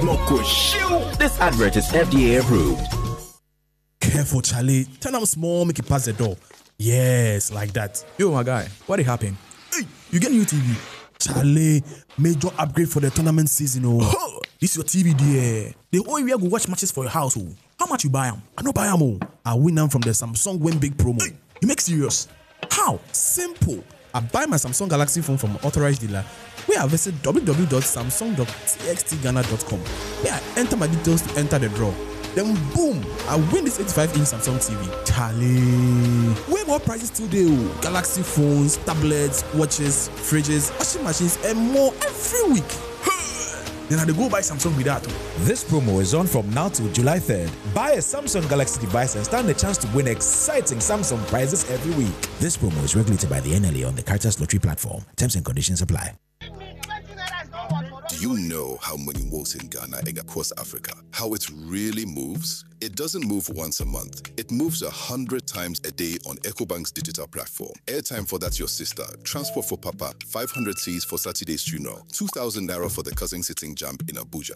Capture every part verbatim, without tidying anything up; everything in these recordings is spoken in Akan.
Block go shoot. This advert is F D A approved. Careful, Charlie. Turn up small, make it pass the door. Yes, like that. Yo, my guy, what happened? Hey, you get new T V? Charlie, major upgrade for the tournament season. Oh, this your T V there. The whole area go watch matches for your house. Oh, how much you buy them? I no buy them. Oh, I win them from the Samsung Win Big promo. Hey, you make serious? How? Simple. I buy my Samsung Galaxy phone from an authorized dealer where I visit w w w dot samsung dot t x t ghana dot com where I enter my details to enter the draw. Then boom, I win this eighty-five inch Samsung T V. Charlie. Way more prizes today. Oh. Galaxy phones, tablets, watches, fridges, washing machines, and more every week. Then I go buy Samsung with that. This promo is on from now till July third. Buy a Samsung Galaxy device and stand a chance to win exciting Samsung prizes every week. This promo is regulated by the N L A on the Caritas Lottery platform. Terms and conditions apply. Do you know how money moves in Ghana and across Africa? How it really moves? It doesn't move once a month. It moves a hundred times a day on EcoBank's digital platform. Airtime for that your sister, transport for Papa, five hundred cedis for Saturday's funeral, two thousand naira for the cousin sitting JAMB in Abuja.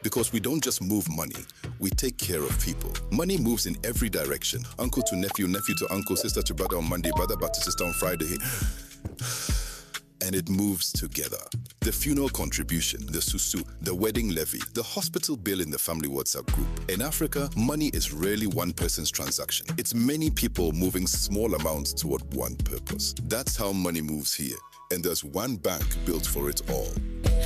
Because we don't just move money, we take care of people. Money moves in every direction. Uncle to nephew, nephew to uncle, sister to brother on Monday, brother back to sister on Friday, and it moves together. The funeral contribution, the susu, the wedding levy, the hospital bill in the family WhatsApp group. In Africa, money is rarely one person's transaction. It's many people moving small amounts toward one purpose. That's how money moves here. And there's one bank built for it all.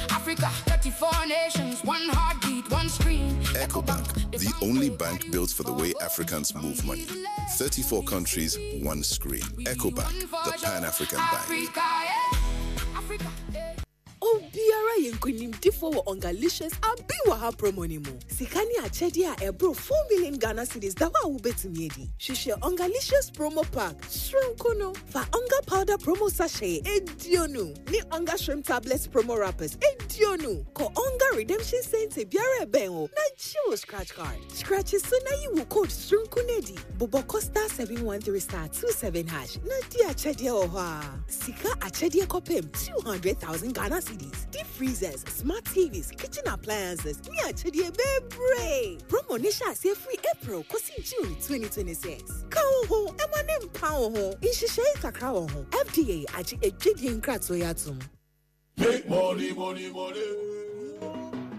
Africa, thirty-four nations, one heartbeat, one screen. EcoBank, the only bank built for the way Africans move money. thirty-four countries, one screen. EcoBank, the Pan African bank. Africa, yeah. Africa, yeah. Obiara yɛ nkonimdifoɔ wɔ Ongalicious abi wɔ ha promo ni mu. Sika ne akyɛdeɛ a ɛboro four million Ghana cedis da hɔ a wobɛtumi adi. Hwehwɛ Ongalicious promo pack soronko no. Fa Onga powder promo sachet eduonu ne Onga shrimp tablets promo wrappers eduonu. Kɔ Onga redemption center biara ɛbɛn wo na gye wo scratch card. Scratch so na yi wo code soronko no adi. Bobɔ kɔ star seven one three star two seven hash na di akyɛdeɛ wɔ hɔ a. Sika akyɛdeɛ kɔpem two hundred thousand Ghana cedis. Deep freezers, smart T Vs, kitchen appliances, ne akyɛdeɛ bebree. Promo ne hyɛ aseɛ firi April kɔsi June twenty twenty-six. Ka wo ho, ɛma ne mpa wo ho. Nhyehyɛe kakra wɔ ho. F D A agye adwadie nkratoɔ yi atom. Make money, money, money.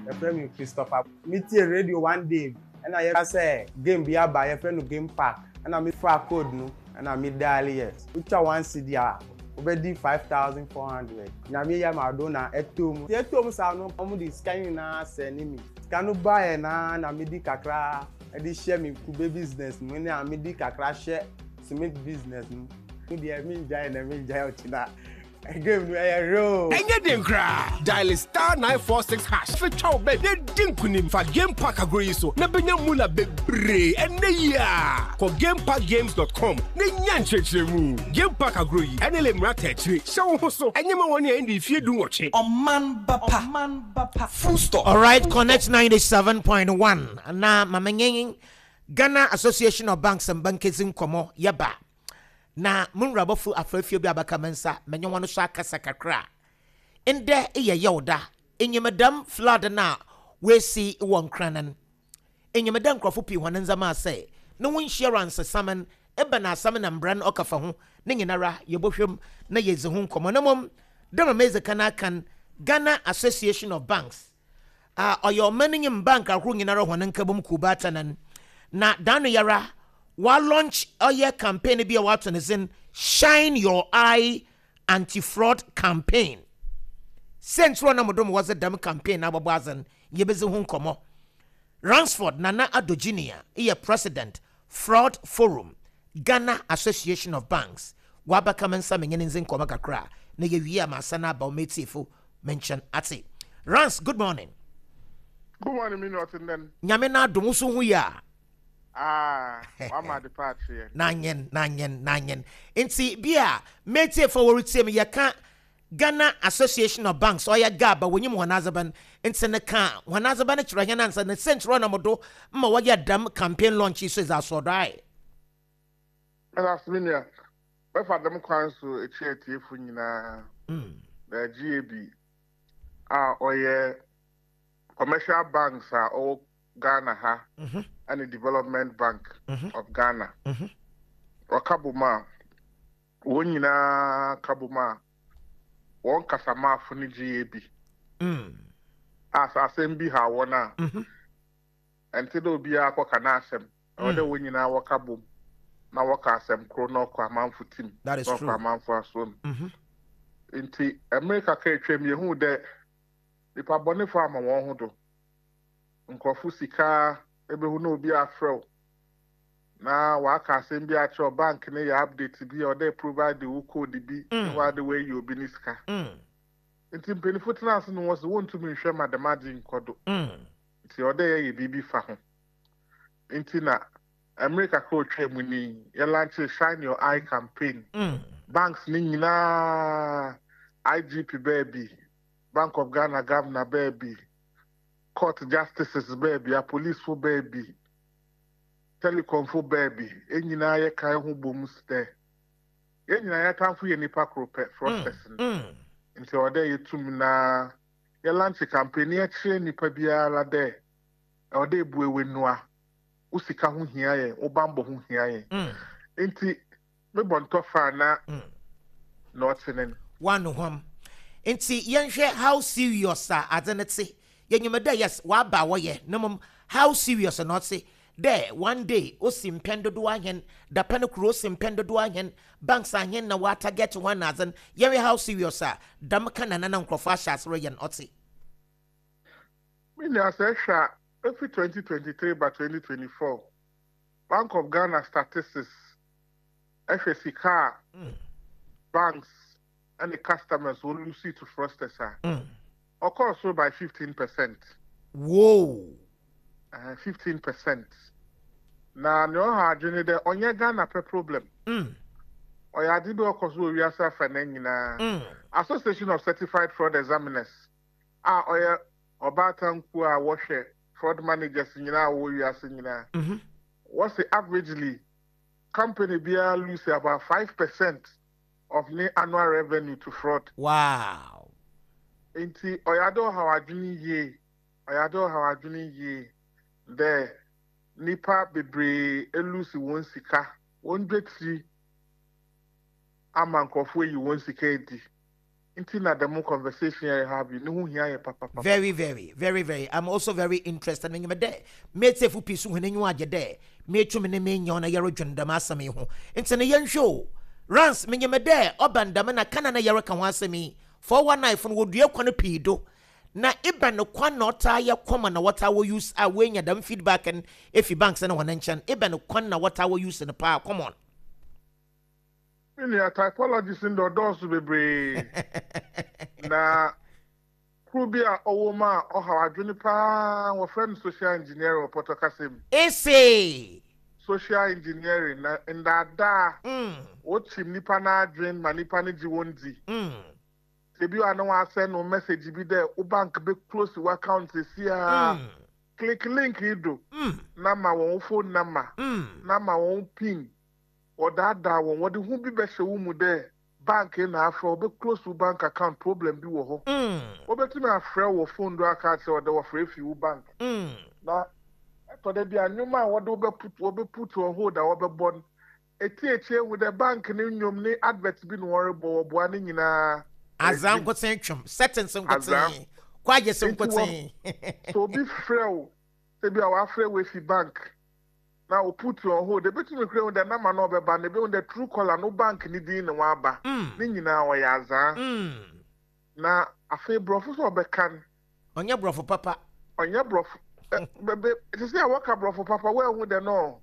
Yɛfrɛ me Christopher. Metie radio one day ɛna yɛka sɛ game bi aba, yɛfrɛ no Game Park, ɛna mefa code no ɛna me dial yɛ. Wotwa one cedi a, wobɛdi five thousand four hundred. Nyame yɛ ma do na ɛtɔ mu. Ɛtɔ mu saa no, ɔmo de sika nyinaa sɛ ne mi. Sika no baeɛ naa na medi kakra ɛde hyɛ me kube business mu ne a medi kakra hyɛ cement business mu. Me deɛ, mengyae na mengyae ɔkyena. Game no ɛyɛ real. Ɛnyɛ den koraa. Dial star nine four six hash fetwa wo bɛ na di nkonim. Fa Game Park agorɔ yi so na bɛnya mula bebree ɛnɛ yi a kɔ gameparkgames dot com na nya nkyerɛkyerɛmu. Game Park agorɔ yi ɛne le mmara ta akyire. Hyɛ wo ho so. Ɛnyɛ ma wɔne a ɛndi fie du nwɔtwe. Ɔman Bapa. Ɔman Bapa. Full stop. All right, Connect ninety-seven point one. Na mamenye Ghana Association of Banks and Bankers nkɔmmɔ yɛba. Na munwurabɔfo afrafie bi abaka me nsa menye wɔn so akasa kakra. Ndɛ yɛ yɛwda. Enyimdam flood na wɔasi wɔ Nkranan. Enyimdam nkurɔfo pii wɔn ndzɛmba asɛe. Ne ho insurance saman eba na asɛm na mbra no ɔkafa ho ne nyinara yɛbɔhwɛm na yɛdzi ho nkɔmmɔ. Na mmom dɛm mezi kan akan Ghana Association of Banks a ɔyɛ ɔman no nyim bank ahorow nyinara hɔn nkabom kuba atanan na dano yara wa launch ɔyɛ campaign bi a wato ne sin Shine Your Eye Anti-Fraud Campaign. Sɛnkyerɛ na modom wɔdze dɛm campaign na abɔbɔ adzen, yɛbɛdzi ho nkɔmmɔ. Ransford Nana Addo Junior yɛ president, Fraud Forum, Ghana Association of Banks. Wabɛka me nsa menye ne ndzi nkɔmmɔ kakra na yɛwie a maasa no aba wo mɛtiefo me nkyɛn ate. Rans, good morning. Good morning, me not then. Nyame no adom, wo so ho yi a? Ah, wama de part here. Nanyen nanyen nanyen nti bi a mɛtiefo wɔretie me, yɛka Ghana Association of Banks, ɔyɛ GABA, wɔnyim wɔn adzeban nti ne ka wɔn adzeban kyerɛ hɛn ansa ne sɛnkyerɛ ɔnam do ma wɔyɛ dɛm campaign launch yi so dze asɔdɔ ayɛ. Ɛna so me nua, bɛfa dɛm kwan so ekyi atiefo nyinaa. Na G A B a ɔyɛ Commercial banks a ɔwɔ Ghana ha ɛne Development Bank of Ghana. Wɔka bom a, wɔn nyinaa ka bom a, wɔn kasamaafo no gye bi. A sɛ asɛm bi ha wɔn a, ɛnte dɛ obiara kɔka n'asɛm. Ɛwɔ dɛ wɔn nyinaa wɔka bom na wɔka asɛm koro na ɔkɔ amanfo tim That is na ɔkɔ true. amanfo asom. Nti mmerɛ kakra atwam, yɛhu dɛ nipa bɔnefo ama wɔn ho do. Nkurɔfo sika ebehu na obi afrɛ wo na waka asɛm bi akyerɛ wo, bank ne yɛ update bi a ɔdɛ provide wo code bi na wade wɔayi obi ne sika. Nti mpanyinfo tena ase no, wɔ sɛ wɔntumi nhwɛ ma dɛm agye nkɔ do, nti ɔdɛ yɛyɛ biribi fa ho. Nti na mmerɛ kakra otwa mu ni, yɛ launch Shine Your Eye campaign. Banks ne nyinaa, I G P baabi, Bank of Ghana governor baabi, court justices baabi, apolicefo baabi, telecomfo baabi, yɛn nyinaa yɛ kan ho bom dɛ yɛn nyinaa yɛtamfo yɛ nipa koro pɛ, fraudsters no. Nti ɔwɔ dɛ yɛtum na yɛ launch campaign na yɛkyerɛ nipa biara dɛ ɛwɔ dɛ ebue w'enua, wo sika ho hia yɛn, wo bambɔ ho hia yɛn. Nti mebɔ ntɔfa na na ɔte ne no. Wano hwam. Nti yɛnhwɛ how serious a adze no te. Yɛnyim dɛ yes, waba a wɔyɛ na mmom how serious na ɔte dɛ one day osi mpɛn dodoɔ ahɛn, dapɛ no kuro osi mpɛn dodoɔ ahɛn, banks ahɛn na wɔa target wɔn na adze no. Yɛhwɛ how serious a dɛm ka na nana nkurɔfoɔ ahyɛ ase reyɛ no ɔte. Me nua, sɛ ɛhwɛ a, efi twenty twenty-three ba twenty twenty-four, Bank of Ghana statistics ɛhwɛ sika a banks ɛne customers wɔn lose to fraudsters a, ɔkɔɔ so by fifteen percent. Whoa. Fifteen percent. Na nea ɔha adwene dɛ ɔnyɛ Ghana pɛ problem. Mm. Ɔyɛ ade bi a ɔkɔ so wɔ wiase afa na nyinaa. Association of Certified Fraud Examiners a ɔyɛ ɔbaatan kuo a wɔhwɛ fraud managers nyinaa a wɔwɔ wiase nyinaa, wɔsi averagely company biara lose about five percent of ne annual revenue to fraud. Wow. Nti ɔyɛ ade ɔhaw adwene yie, ɔyɛ ade ɔhaw adwene yie dɛ nipa bebree e lose wɔn sika, wɔn dwetiri ama nkurɔfoɔ yi wɔn sika edi. Nti na dɛm conversation yɛ have yi ne ho hia yɛ papapa. Very, very, very, very. I'm also very interested. Menyim dɛ metiefo pii so hɔn enyiwa agye dɛ metumi ne menya ɔna yɛredwen dɛm asɛm yi ho. Nti no yɛnhwɛ o. Rans, menyim dɛ ɔba ndɛm na kana na yɛreka ho asɛm yi. four one nine fo no wɔdua kwan pii do. Na iba no kwan na ɔtaa yɛ common na wɔtaa wɔ use a woenya dɛm feedback no efi banks no hɔn nkyɛn. Iba no kwan na wɔtaa wɔ use no paa common? Me nua, typologies no dɔɔso bebree, na koro bi a ɔwɔ mu a ɔhaw adwene paa, wɔfrɛ no social engineering wɔ pɔtɔ kasa mu. Ese. Social engineering na ndaadaa wɔkyim nipa n'adwene ma nipa no gye wɔn di. Ebi wa na wasend no message bi dɛ wo bank bɛ close wo account esi a, click link yi do na ma wɔn phone number na ma wɔn PIN. Wɔdaadaa wɔn, wɔde ho bi bɛhyɛ wo mu dɛ bank na afrɛ wɔbɛ close wo bank account, problem bi wɔ hɔ. Wɔbɛtumi afrɛ wɔ phone do aka akyerɛ wɔde wɔfrɛ fi wo bank, na ɛtɔ dɛ bi a nnwoma a wɔde wɔbɛ put wɔbɛ put on hold a wɔbɛbɔ no eti ekyir ehu dɛ bank ne nnwom ne advert bi na wɔrebɔ, wɔboa ne nyinaa. Azaa nkoten twem settings nkoten kwagye se nkoten. So obi frɛ wo sɛ bi a wafrɛ wo efi bank na o put you on hold, ebetumi kura ehu dɛ nama na ɔbɛba na ebi hu dɛ true caller no, bank ne din na waba ne nyinaa ɔyɛ azaa. Na afei borɔfo sɛ ɔbɛka no, ɔnyɛ borɔfo papa. Ɔnyɛ borɔfo ɛ bɛbɛ sisi a wɔka borɔfo papa, wɔahu dɛ no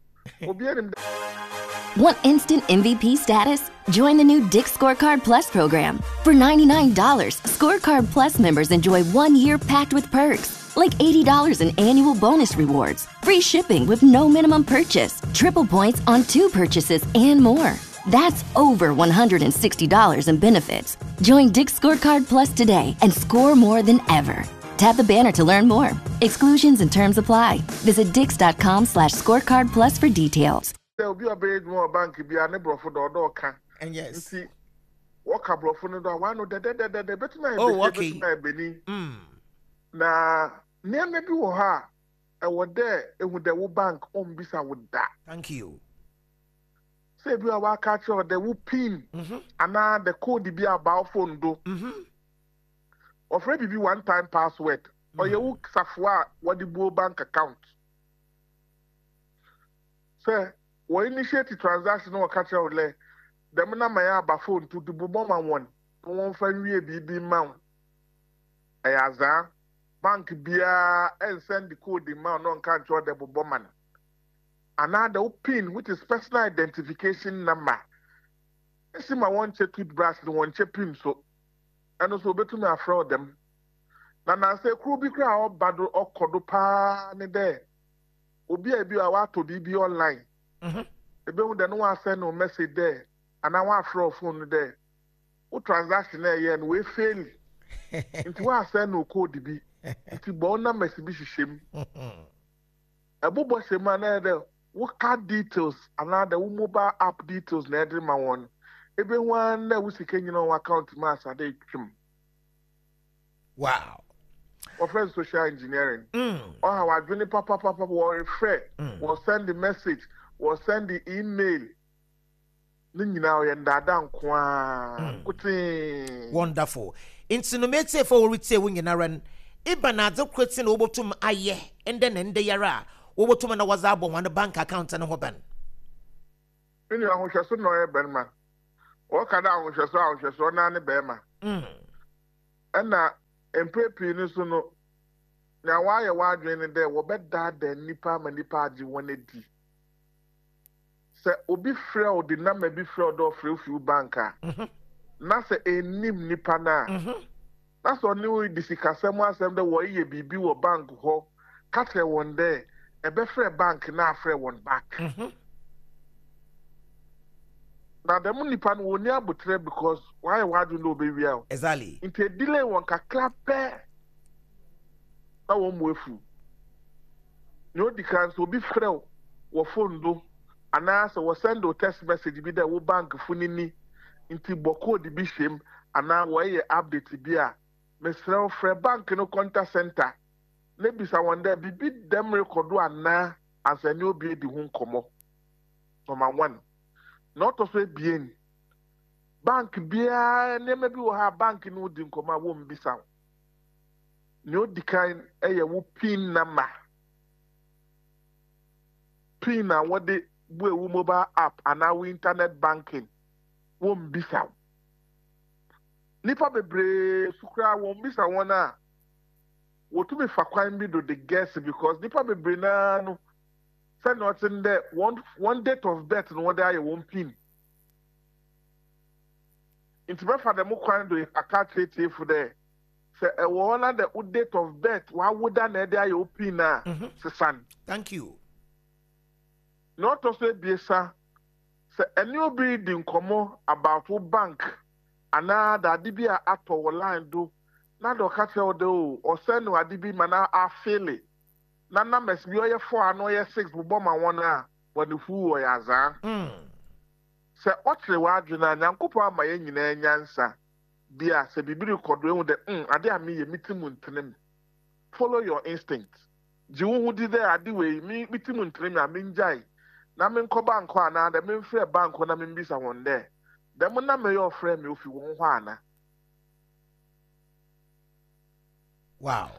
obi anim dɛ. Want instant M V P status? Join the new Dick's Scorecard Plus program. For ninety-nine dollars, Scorecard Plus members enjoy one year packed with perks, like eighty dollars in annual bonus rewards, free shipping with no minimum purchase, triple points on two purchases, and more. That's over one hundred sixty dollars in benefits. Join Dick's Scorecard Plus today and score more than ever. Tap the banner to learn more. Exclusions and terms apply. Visit dicks dot com slash scorecard plus for details. Sɛ obi a ɔbɛyɛ adwuma wɔ bank bi a ne borɔfo dɔ ɔdɔ ɔka. And yes. Nti wɔka borɔfo no do a wano dɛdɛdɛdɛdɛ, ebetumi ayɛ Oh, besi okay. ebetumi ayɛ benin. Na Nneɛma bi wɔ hɔ a ɛwɔ dɛ ehu dɛ wo bank ɔmbisa wo da. Thank you. Sɛ ebi a waka kyerɛ wo dɛ wo PIN anaa the code bi aba wo phone do. Wɔfrɛ biribi one time password. Ɔyɛ wo safoa a wɔde buo bank account. Sɛ wɔ initiate transaction na wɔka kyerɛ wo dɛ dɛm number yɛ aba phone to de bobɔ ma wɔn na wɔmfa nwie biribi ma wo. Ɛyɛ azaa. Bank biara ɛnsend code ma wo na ɔnka nkyerɛ wo dɛ bobɔ ma no. Anaa dɛ wo PIN, which is personal identification number. Esi ma wɔnkyɛ toothbrush no, wɔnkyɛ PIN so. Ɛno nso obetumi afrɛ wo dɛm. Na nansa kuro bi koraa a ɔba do, ɔkɔ do paa ne dɛ obi a ebi a watɔ biribi online. Ebehu dɛ no wasend no message dɛ anaa wafrɛ wo phone no dɛ wo transaction na ɛyɛ no wei fail. Nti wasend no code bi. Nti bɔ wo numbers bi hyehyɛ mu. Ɛbobɔ hyɛ mu a, na ɛyɛ dɛ wo card details anaa dɛ wo mobile app details na ɛde ma wɔn. Ebehu ara na wo sika nyina wɔ account mu asade etwam. Wow. Wɔfrɛ no social engineering. Mm. Ɔha wadwene papapapa. Wɔrefrɛ, wɔ send the message, wɔ send the email ne nyinaa ɔyɛ ndaadaa nko ara kotee. Wonderful. Nti no, metiefo wɔretie wo nyinara no, iba na adze koro ti na wɔbɛtum ayɛ ndɛ na ndɛ yara a wɔbɛtum na wɔdze abɔ wɔn bank account no ho ban? Me nua, ahohwɛso na ɔyɛ bɛrima. Wɔka dɛ ahohwɛso, ahohwɛso ɔnan ne bɛrima. Ɛna mpere pii no so no, nea wɔayɛ w'adwene ne dɛ wɔbɛdaadaa nnipa ama nnipa agye wɔn adi. Sɛ obi frɛ wo de number bi frɛ wo dɛ ɔfrɛ wo fi wo bank a, na sɛ enim nipa no a, na sɛ ɔne wo di sikasɛm asɛm dɛ wɔreyɛ biribi wɔ bank hɔ, ka kyerɛ wɔn dɛ ɛbɛfrɛ bank na afrɛ wɔn back. Na dɛm nipa no, wɔnni abotire because wɔayɛ w'adwene dɛ ɔbɛwia wo. Exactly. Nti edelay wɔn kakra pɛ na wɔn mu efu. Nea odi kan, sɛ obi frɛ wo wɔ phone do anaasɛ wɔsend wo text message bi dɛ wo bank fo ni ni nti bɔ code bi hyɛ mu anaa wɔyɛ update bi a, mesrɛ wo, frɛ bank no contact center na bisa wɔn dɛ biribi dɛm rekɔ do anaa ansa ne obi edi ho nkɔmmɔ. Number one. Na ɔtɔ so ebien, bank biara, nneɛma bi wɔ ha a bank no di nkɔmmɔ a wɔmbisa wo. Nea odi kan yɛ wo PIN number, PIN a wɔde bue wo mobile app anaa wo internet banking, wɔmbisa wo. Nipa bebree so koraa wɔmbisa wɔn a wɔtumi fa kwan bi do de guess, because nipa bebree naa no, sɛnea ɔte no dɛ wɔn wɔn date of birth no wɔde ayɛ wɔn PIN. Nti bɛfa dɛm kwan do aka akyerɛ tiefo dɛ sɛ ɛwɔ hɔ na dɛ wo date of birth wawoda na ɛde ayɛ wo PIN a, sesan. Thank you. Na ɔtɔ so ebiesa, sɛ ɛne obi di nkɔmmɔ about wo bank anaa dade bi a atɔ wɔ line do na de ɔka kyerɛ wo de o ɔsɛn no ade bi ma na afail na numbers bi ɔyɛ four ano ɔyɛ six bobɔ ma wɔn a, wɔde fu wɔyɛ azaa. Sɛ ɔkyerɛ w'adwene a, Nyankopɔn ama yɛn nyinaa nyansa bi a sɛ biribi rekɔ do ehu dɛ mm ade a meyɛ mi ti mu ntene mu, follow your instinct. Gye wo ho di dɛ ade wei mi mi ti mu ntene mu a, mengyae na menkɔ bank hɔ anaa dɛ memfrɛ bank hɔ na membisa wɔn dɛ dɛm na meyɛ ɔfrɛ me ofi wɔn hɔ ana. Wow,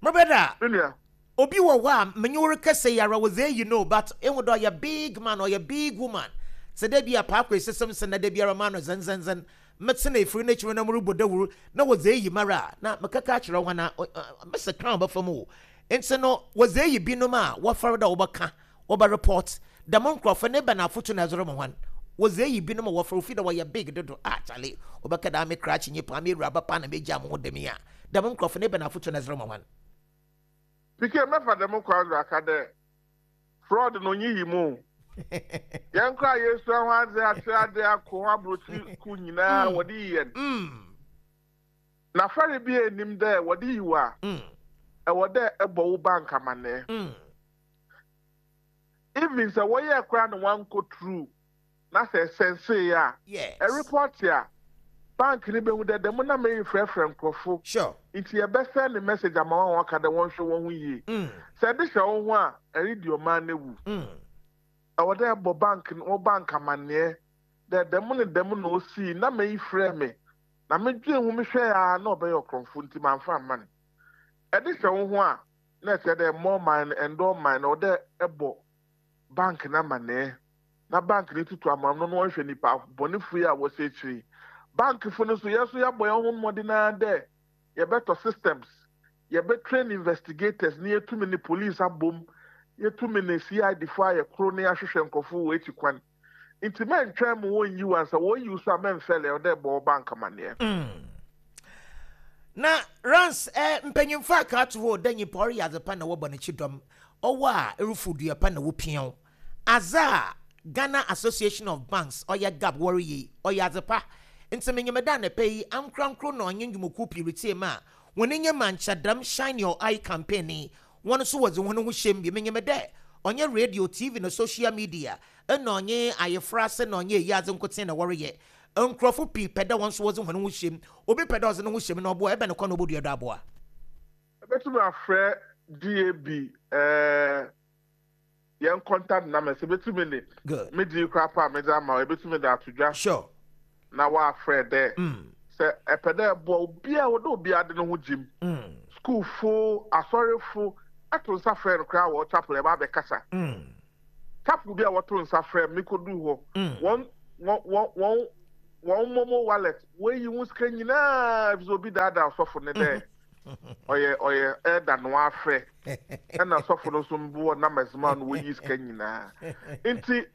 my brother. Me nua. Obi wɔ hɔ a menye wo rekasa yi ara wɔdze eyi no, but ehu dɛ ɔyɛ big man, ɔyɛ big woman, sɛ dɛ bi a paakɔ esesɛm sɛ na da biara ma no zenzenzen metsena efiri n'ekyir na morobɔ dawur na wɔdze eyi mara a, na mekaka akyerɛ hɔn a mɛsɛ crown bɛfa mu o. Nti no wɔdze eyi binom a wɔfɛre dɛ wɔbɛka, wɔbɛ report dɛm nkurɔfo ne bɛn afotu na ɛdze rema hɔn? Wɔdze eyi binom a wɔfɛre ofi dɛ wɔyɛ big dodo a, kyale wɔbɛka dɛ ame krakye nyimpa, ame ewuraba pa na megya mo ho dɛm yi a, dɛm nkurɔfo ne bɛn afotu na ɛdze rema hɔn? Pike, mɛfa dɛm kwan do aka dɛ fraud no nyi yi mu. Yɛn kora yɛsua ho adze, akyerɛ ade akɔ ho aburokyi ku nyinaa, wɔde yi yɛn. Na fɛre bi enim dɛ wɔde yi wo a, ɛwɔ dɛ ɛbɔ wo bank amanneɛ. Even sɛ wɔyɛ koraa na wankɔ through na sɛ ɛsɛnsee a, Yes. ɛreport a Bank ni behu dɛ dɛm na meyi frɛfrɛ nkurɔfo. Sure. Nti yɛbɛsɛ ne message ama wɔn aka dɛ wɔnhwɛ wɔn ho yie. Sɛ ɛde hyɛ wo ho a, ɛredi ɔman no wu. Ɛwɔ dɛ ɛbɔ bank wɔ bank amanneɛ dɛ dɛm ne dɛm na osii na meyi frɛ me na medwe ho mehwɛ a na ɔbɛyɛ ɔkorɔmfo nti mamfa amma no. Ɛde hyɛ wo ho a, na ɛkyerɛ dɛ mmɔ ɔman no ɛndɔ ɔman no, ɔwɔ dɛ ɛbɔ bank no amanneɛ na bank no tutu amam no na wɔhwɛ nipa bɔnefo yi a wɔhyɛ akyiri. Bankfo no so, yɛn nso yɛabɔ yɛn ho mmɔden ara dɛ yɛbɛtɔ systems, yɛbɛtrain investigators ne yɛtumi ne police abom, yɛtumi ne C I D fo ayɛ koro ne yɛahwehwɛ nkurɔfo wɔ akyi kwan. Nti mɛntwɛn mu wɔnyi wo ansa wɔyi wo so a, mɛmfɛlɛ ɔdɛ bɔ wo bank amanneɛ. Na Rans, eh, mpanyimfo aka ato hɔ dɛ nyimpa ɔreyɛ adze pa na wɔbɔ n'akyi dɔm, ɔwɔ a erufu dua pa na wopia wo. Adze a Ghana Association of Banks, ɔyɛ GAB, wɔreyɛ yi, ɔyɛ adze pa. Nti menyim dɛ anapa yi ankorankoro na ɔnye ndwumakuw pii retsie mu a hɔn enyim ankyɛ dɛm Shine Your Eye campaign yi, wɔn nso wɔdze hɔn ho hyɛ mu bi. Menyim dɛ ɔnyɛ radio, T V na social media ɛna ɔnye ayefra ase na ɔnyɛ eyi adze nkotsee na wɔreyɛ. Nkurɔfo pii pɛ dɛ wɔn nso wɔdze hɔn ho hyɛ mu. Obi pɛ dɛ ɔdze ne ho hyɛ mu na ɔboa, ɛbɛn ne kwan na obodua do aboa? Ɛbɛtumi afrɛ G A B ɛɛ yɛn contact numbers, ebɛtumi ne Good. me di kora pa a medze ama wo, ebɛtumi de ato dwa. Sure. Na wɔafrɛ dɛ sɛ ɛpɛ dɛ ɛboa obiara, wɔdɛ obiara de ne ho gyim, skuulfo, asɔrefo, ɛto nsa frɛ no koraa wɔ chapel, ɛba abɛkasa. Chapel bi a wɔto nsa frɛ me kɔduu hɔ, wɔn wɔn wɔn wɔn wɔn MoMo wallet wɔayi ho sika nyinaa efisɛ obi daadaa ɔsɔfo ne dɛ ɔyɛ ɔyɛ ɛda no afrɛ, ɛna ɔsɔfo no nso mboɔ numbers ma no, wɔyi sika nyinaa. Nti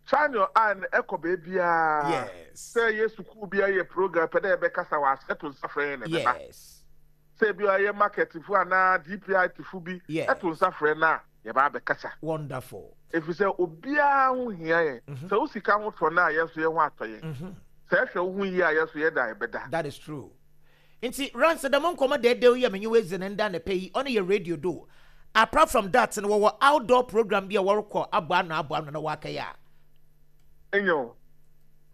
Shine Your Eye no ɛkɔ beebiara. Yes. Sɛ yɛ sukuu bi ayɛ program pɛ dɛ yɛbɛkasa wɔ ase, ɛto nsa frɛ yɛn na ɛbɛba. Yes. Sɛ ebi ɔyɛ market fo anaa D P I fo bi, Yes. ɛto nsa frɛ no a, yɛba abɛkasa. Wonderful. Ɛfiri sɛ obiara ho hia yɛn. Sɛ wo sika ho tɔ no a, yɛn nso yɛn ho atɔ yɛn. Sɛ ɛhwɛ wo ho yie a, yɛn nso yɛda yɛbɛda. That is true. Nti Rans, dɛm nkɔmɔ dɛɛdɛw yi a menye wo edzi ne nda anapa yi, ɔno yɛ radio do. Apart from that no, wɔwɔ outdoor program bi a wɔrekɔ abɔ ano abɔ ano na wɔakɛyɛ a? Enyo,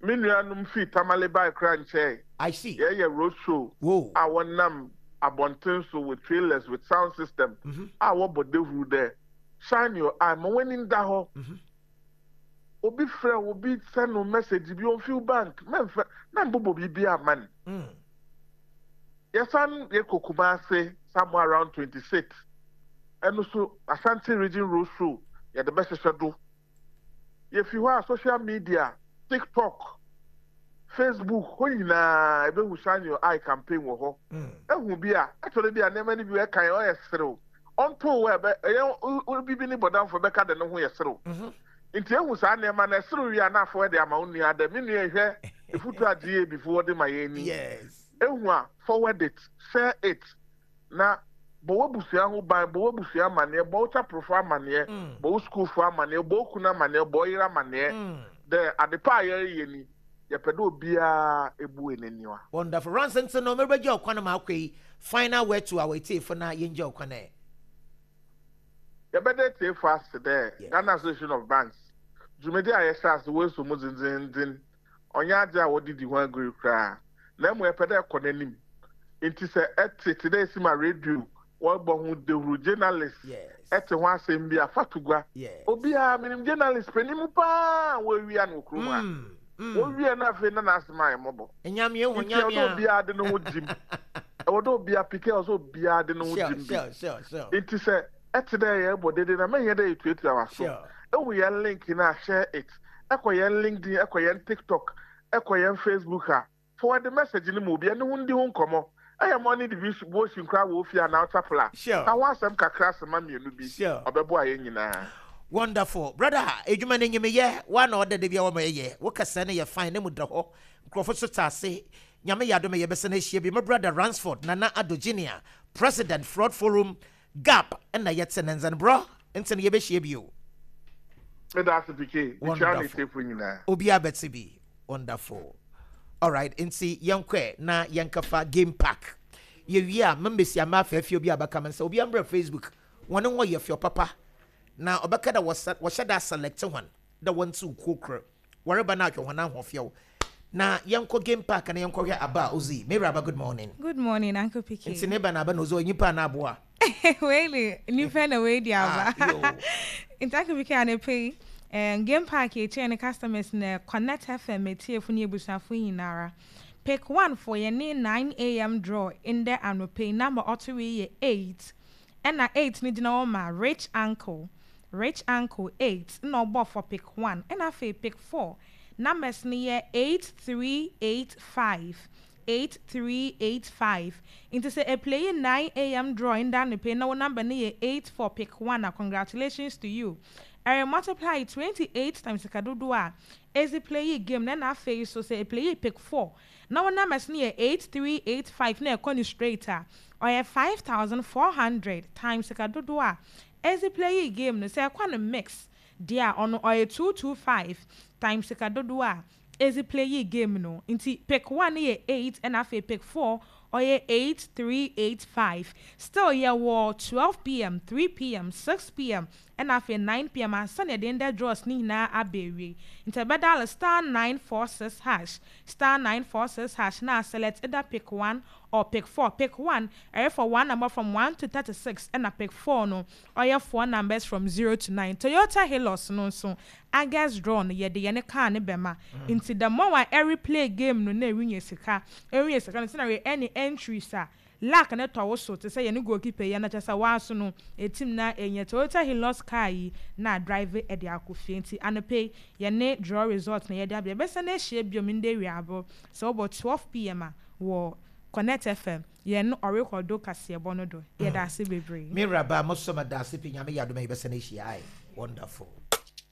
me nuanom fii Tamale bae kora nkyɛn. I see. Yɛyɛ road show Whoa. a wɔnam abɔnten so with trailers with sound system a wɔbɔ dehuru dɛ shine your eye, ma w'ani nda hɔ. Obi frɛ wo, obi send no message bi ɔmfi bank, mɛmfɛ mɛmbobɔ biribi ama no. Yɛsan yɛkɔ Kumase somewhere around twenty six, ɛno so Ashanti Region road show yɛde bɛhyehyɛ do. Yɛfi hɔ a, social media, TikTok, Facebook hɔ nyinaa, ebehu Shine Your Eye campaign wɔ hɔ. Ehu bi a ɛtɔrɔ bi a nneɛma no bi ɛka yɛ ɔyɛ serew ɔnto wɔ ɛbɛ ɛyɛ bibi ne bɔdanfo bɛka de ne ho yɛ serew. Nti ehu saa nneɛma na ɛserew wie a, na afɔ ɛde ama wo nua dɛ me nua, ehwɛ efutu a G A B fo wɔde ma yɛn ni. Yes. Ehu a, forward it, share it, na bɔ w'abusua ho ban, bɔ w'abusua amanneɛ, bɔ wo chaporofo amanneɛ, bɔ wo sukuufo amanneɛ, bɔ wo kunu amanneɛ, bɔ wo yere amanneɛ dɛ adepa a yɛreyɛ ni, yɛpɛ dɛ obiara ebu n'aniwa. Wonderful. Rans, nti no merebɛgye ɔkwan ma akɔ yi, final word to our etiefo na yɛngye ɔkwan ɛ. Yɛbɛda tiefo ase dɛ Ghana Association of Banks dwumadi a yɛhyɛ ase wɔaso mu dzendzendzen, ɔnyɛ adze a wɔde di ho agori koraa, na mmom yɛpɛ dɛ ɛkɔ n'anim. Nti sɛ ɛte te dɛ esi ma radio wɔbɔ ho dehuru, journalist ɛte ho asɛm bi a, fa to gua. Obiara menim journalist panin paa a wɔawia no wɔ kurom ha, wɔwia no afei na n'asɛm ayɛ mmɔbɔ. Nyame ehu. Nti ɛwɔ dɛ Nyame. obiara de ne ho gyim, ɛwɔ dɛ obiara pike, ɛwɔ sɛ obiara de ne ho Sure, gyim bi. sure, sure, sure. Nti sɛ ɛte dɛ yɛbɔ dede na mɛnyɛ dɛ yɛtuatua w'aso. Sure. Ehu yɛn link na share it, ɛkɔ yɛn LinkedIn, ɛkɔ yɛn TikTok, ɛkɔ yɛn Facebook a, forward the message no mu, obi ɛne ho ndi ho nkɔmɔ. Ɛyɛ morning devotion koraa wɔ ofie anaa chapel a, Sure. ka ho asɛm kakra asɛma mmienu bi. Sure. Ɔbɛboa yɛn nyinaa. Wonderful. Brother, edwuma no nyimeyɛ wa na ɔda da bi a wɔma yɛyɛ wo kasa no yɛ fine ne mu da hɔ, nkurɔfo so ta ase. Nyame yɛ adom a yɛbɛsɛ no ahyia bi. My brother Ransford Nana Ado Junior, President, Fraud Forum GAB, ɛna yɛte ne nzɛn borɔ nti no yɛbɛhyia bio. Meda ase, Pike mekyia ne Wonderful. tiefo nyinaa. Obiara bɛte bi. Wonderful. Alright, nti yɛnkɔ na yɛnkɛfa Game Park. Yɛwie a, membɛsi ama afɛɛfɛ obi a bɛka me nsa. Obi ambrɛ Facebook wɔne hɔ yɛ fɛ papa na ɔbɛka dɛ wɔsɛ- wɔhyɛ da select hɔn dɛ wɔnte kuo koro wɔreba no ahwɛ hɔn ahoɔfɛw. Na yɛnkɔ Game Park na yɛnkɔhwɛ aba a ozi. Mary Aba, good morning. Good morning, Uncle P K. Nti ne ba na aba na ozi onyimpa na aboa. Wei nipa na wei di aba. Nti Uncle P K anɔpa um, Game Park yɛkyerɛ ne customers na Connect F M etiefo ne ebusuafo nyinara. Pick one for yɛn ne nine a m draw ndɛ anɔpa yi, number ɔto wei yɛ eight. Ɛna eight no gyina hɔ ma Rich Uncle. Rich Uncle eight na ɔbɔ for pick one. Ɛna afei pick four numbers no yɛ eight three eight five. eight three eight five. Nti sɛ eplay nine a m draw ndɛ anɔpa yi na wo number no yɛ eight for pick one a, congratulations to you. Ɛrɛ multiply twenty-eight times sika dodoɔ a ezi play game na ɛna afei so sɛ eplay pick four na wo numbers no yɛ eight three eight five na ɛkɔ no straight a, ɔyɛ five thousand four hundred times sika dodoɔ a ezi play game no. Sɛ ɛkɔ no mix deɛ a, ɔno ɔyɛ two hundred twenty-five times sika dodoɔ a ezi play game no. Nti pick one no yɛ eight, ɛna afei pick four ɔyɛ eight three eight five. Still yɛwɔ twelve p m, three p m, six p m ɛna afei nine p m ansa na yɛde ndɛ draws ne nyinaa aba awie. Nti ɛbɛdial star nine four six hash, star nine four six hash na select either pick one or pick four. Pick one ɛyɛ for one number from one to thirty-six, ɛna pick four no ɔyɛ four numbers from zero to nine. Toyota Hilux no nso, August draw no yɛde yɛne car ne bɛma. Nti the more a ɛre play game no na ɛrenya sika, ɛrenya sika no, nti na yɛ ɛne entries a luck ne tɔ wo so te sɛ yɛne goalkeeper yi na kyerɛ sɛ waaso no etim na ɛnyɛ Toyota Hilux car yi na drive ɛde akɔ fie. Nti anɔpɛ yi yɛne draw result na yɛde abɛ yɛbɛsɛ na ahyia biom ndɛ wiabɔ sɛ wɔbɔ twelve p m a wɔ Connect F M yɛn ɔrekɔdo kaseɛbɔ no do. Yɛda ase bebree. Mary Aba, mo so ma da ase pii. Nyame yɛ adom a yɛbɛsɛ no ahyia. Aye, wonderful.